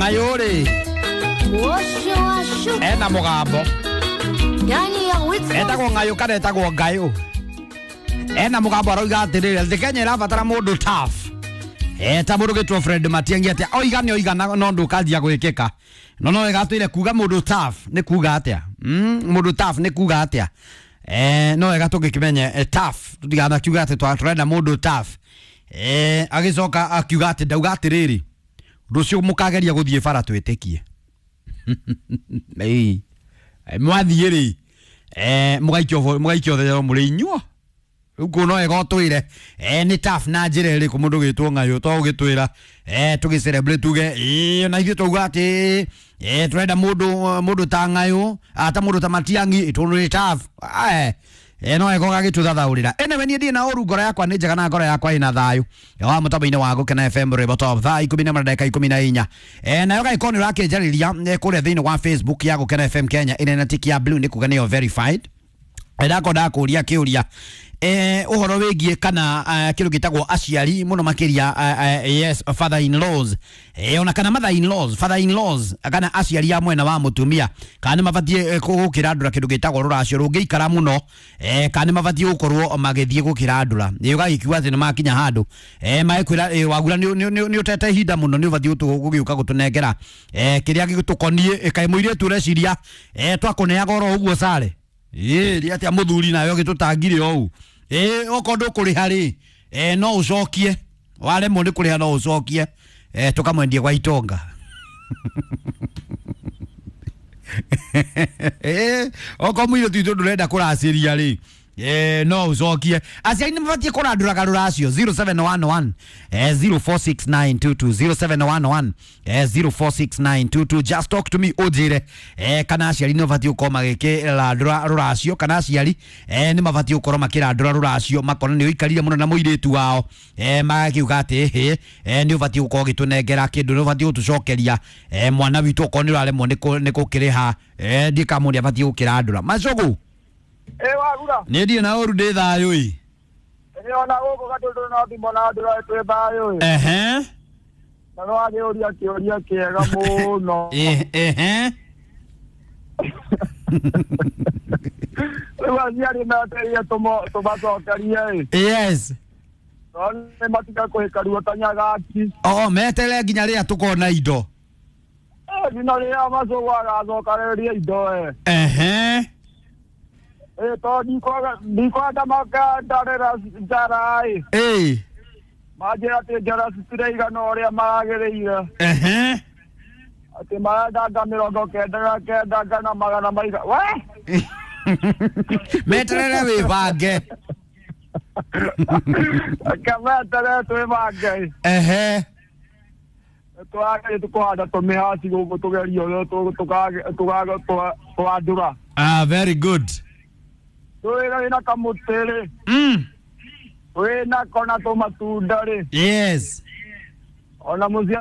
Ng'ayũ rĩ ena mũgambo etagwo Ng'ayũ kana etagwo Ngayũ ena mũgambo arauga atĩrĩrĩ atĩ Kenya ĩrabatara mũndũ tough ta mũndũ gĩtwo Fred Matiang'i atĩa oiga nĩ oiga no ndũkanjia gwĩkĩka no no wega atwĩre kuga mũndũ tough nĩ kuga atĩa mũndũ tough nĩ kuga atĩa no wega tũngĩkĩmenye tough tũtiganakiuga atĩ tũrenda mũndũ tough agĩcoka akiuga atĩ ndauga atĩrĩrĩ rũciũ mũkageria gũthiĩ bara twĩtĩkie mwathiĩ rĩ mũgaikio thero mũrĩ inyuo rĩu kũu no wega ũtwĩre nĩ tough na njĩra ĩrĩkũ mũndũ gĩtwo Ng'ayũ to ũgĩtwĩra tũgĩ celebrate tuge ĩĩ na ithuĩ twauga atĩ tũrenda mũndũ ta Ng'ayũ ta mũndũ ta Matiang'i tondũ nĩ tough no wega ũgagĩtũthathaũrĩra anyway niĩ ndirĩ na ũru ngoro yakwa nĩ njega na ngoro yakwa ĩna thayũ wa mũtambo-inĩ wa Gũkena FM rwĩmbo top thaa 10 na ndagĩka 14 nayo gagĩkorwo nĩ ũrakĩnjarĩria kũrĩa thĩinĩ wa Facebook ya Gũkena FM Kenya ĩrĩa na tiki ya blue nĩ kuga nĩyo verified ndako ndakũria kĩũria ũhoro wĩgiĩ kana kĩndũ gĩtagwo aciari mũno makĩria yes father in laws ona kana mother in laws father in laws kana aciari a mwena wa mũtumia kana nĩ mabatiĩ gũkĩrandũra kĩndũ gĩtagwo rũracio rũngĩikara mũno kana nĩ mabatiĩ gũkorwo magĩthiĩ gũkĩrandũra ũgagĩkiuga atĩ nĩ makinya handũ magĩkwĩra wagura nĩ ũtete ihinda mũno nĩ ũbatiĩ gũgĩũka gũtũnengera kĩrĩa gĩtũkoniĩ kaĩ mũirĩtu ũreciria twakũneaga oro ũguo sare ĩĩ rĩ atĩa mũthuri nawe ũgĩtũtangire o ũũ ĩĩ okorwo ndũkũrĩha rĩ no ũcokie waremwo nĩ kũrĩha no ũcokie tũkamwendie gwa itonga okorwo mũirĩtu witũ ndũrenda kũracĩria rĩ no ũcokie aciari nĩ mabatiĩ kũrandũraga rũracio 0711 046922 0711 046922 just talk to me ũnjĩre kana aciari nĩ mabatiĩ gũkorwo magĩkĩrandũra rũracio kana aciari nĩ mabatiĩ gũkorwo makĩrandũra rũracio makona nĩ ũikarire mũno na mũirĩtu wao magakiuga atĩ hĩ nĩ ũbatiĩ gũkorwo ũgĩtũnengera kĩndũ nĩ ũbatiĩ gũtũcokeria mwana witũ okorwo nĩ ũraremwo nĩ gũkĩrĩha ndiĩ kana mũndũ abatiĩ gũkĩrandũra macũgũ Wagura nĩ ndirĩ na ũru ndĩ thayũ ĩ nĩ ona gũkũ gatũndũ no thimo na ndũra twĩ thayũ ĩ ehe na no wagĩũria kĩũria kĩega mũno ehe rĩu aciari metereire tũmacokerie ĩ yes no nĩ matiga kũhĩka ruo ta nyagaki o meterere nginya rĩrĩa tũkona indo nginya rĩrĩa macũgũ agacokanĩrĩria indo ĩ ehe to ndikwenda makandarĩra njara ĩ ĩ manjĩra atĩ njara citiraigana ũrĩa maragĩrĩire ehe atĩ marendanga 99 ngana magana maiga we meterere wĩbange reke meterere twĩbange ehe twagĩrĩ tũkũhanda tũmĩhaci gũkũ tũgerie ũrĩa tũgandũra ah very good twĩra wĩna kamũtĩ rĩ wĩna kona tũmatunda rĩ yes ona mũciĩ